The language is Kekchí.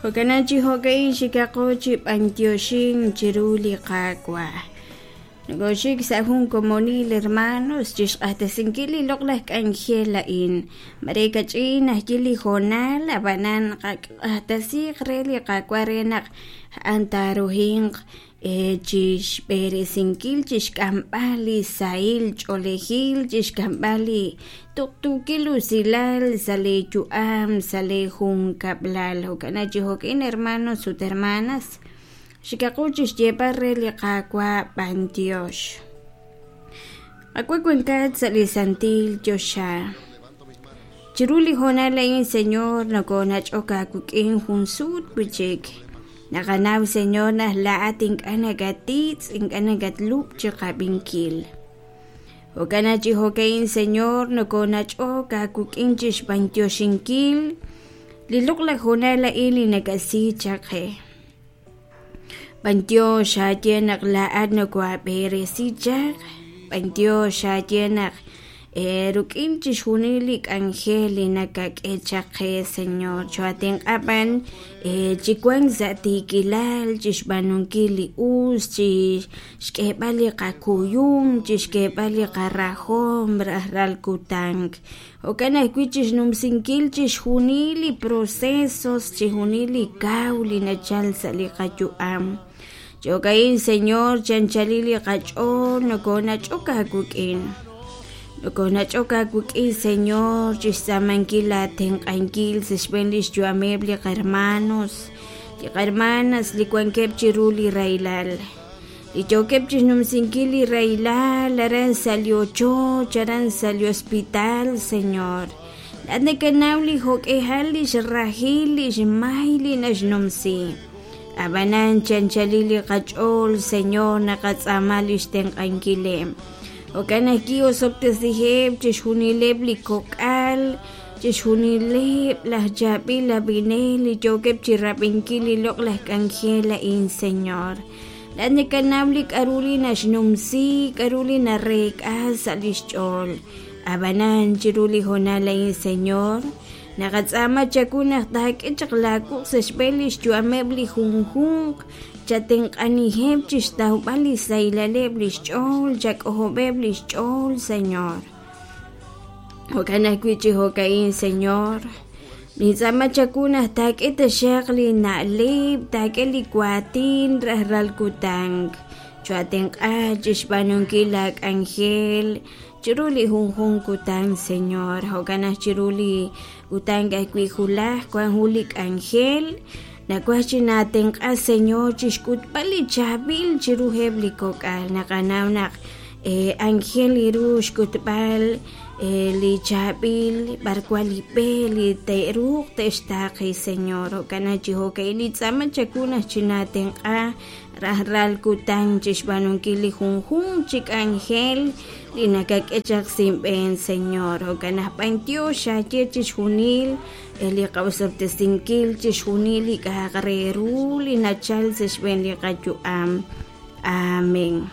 Jo'kanan chi jo'ka'in xikaqo chi b'antioxink chiru li Qaawa'. Nokoxik sa' jun komonil hermanos chixq'axtesinkil li loq'laj k'anjel a'in. Mare kach'in ajwi' li hoonal, ab'anan qaq'axtesiiq re li Qaawa' re naq a'an taaruhinq chixb'eresinkil, chixk'amb'al li sahil ch'oolejil, chixk'amb'al li tuqtuukil usilal sa' lee yu'am, sa' lee junkab'lal. Jo'kan chi jo'ka'in hermanos ut hermanas, xikaqu chixyeeb'al re li Qaawa' b'antiox. Qaawa' wankat sa' li santil choxa. Chiru li hoonal a'in, Señor, nokonach'ok aawik'in jun sut wi'chik. Naqanaw, Señor, naq laa'at ink'a' nakatitz', ink'a' nakatlub' chiqab'inkil. Jo'kan naq chi jo'ka'in, Señor, nokonach'ok aawik'in chixb'antioxinkil li loq'laj hoonal a'in li nakasi chaq qe. B'antiox aaye naq laa'at nokohaab'eresi chaq, b'antiox aaye naq ruk'in chixjunil li k'anjel li nakak'e chaq qe, Señor, choo'atenq'a b'an chi wank sa' tiikilal, chixb'aanunkil li us, chi xk'eeb'al li qakuyum, chixk'eeb'al li qarahom rajlal kutan. Jo'kan ajwi' chixnumsinkil chixjunil li procesos, chixjunil li kaw li nachal sa' li qayu'am. Jo'ka'in, Señor, chanchalil li qach'ool nokonach'ok aawik'in. Nokonach'ok aawik'in, Señor, chixtz'aamankil aatenq'ankil sa' xb'een lix yu'ameb' li qahermanos, li qahermanas li wankeb' chiru li rahilal. Li yookeb' chixnumsinkil li rahilal aran sa' li ochoch, aran sa' li hospital, Señor. Laa'at nakanaw li jo'k'ihal lix rahil lix may li naxnumsi. Ab'anan chanchalil li qach'ool, Señor, naqatz'aama lix tenq'ankileb'. Jo'kan ajwi' osob'tesiheb' chixjunileb' li kok'al, chixjunileb' laj chaab'il ab'inel li yookeb' chirab'inkil li loq'laj k'anjel a'in, Señor. Laa'at nakanaw li k'a'ru li naxnumsi, k'a'ru li nareek'a sa' lix ch'ool. A'b'anan, chiru li hoonal a'in, Señor, naqatz'aama chawu naq taak'e chaq laa wuq' sa' xb'een lix yu'ameb' li junjunq, chatenq'aniheb' chixtawb'al li sahilaleb' lix ch'ool, chak'ojob'eb' lix ch'ool, Señor. Jo'kan ajwi' chi jo'ka'in, Señor, nintz'aama chawu naq taak'e taxaq li na'leb', taak'e li waatin rajlal kutan. Choo'atenq'a chixb'aanunkil laa k'anjel chiru li junjunq kutan, Señor. Jo'kan naq chiru li kutan ajwi' wulaj wan jun li k'anjel, nawaj chi naatenq'a, Señor, chixk'utb'al li chaab'il chiruheb' li kok'al. Naqanaw naq Anjel ru xk'utb'al li chaab'il b'arwan li b'e li te'ruuq te'xtaaqi, Señor. Jo'kan naq chi jo'ka'in nintz'aama chawu naq chinaatenq'a rajlal kutan chixb'aanunkil li junjunq chi k'anjel li nakak'e chaq sa' inb'een, Señor. Jo'kan naq b'antiox aaye chixjunil li qa'osob'tesinkil, chixjunil li k'a'aq re ru li nachal sa' xb'een li qayu'am. Amén.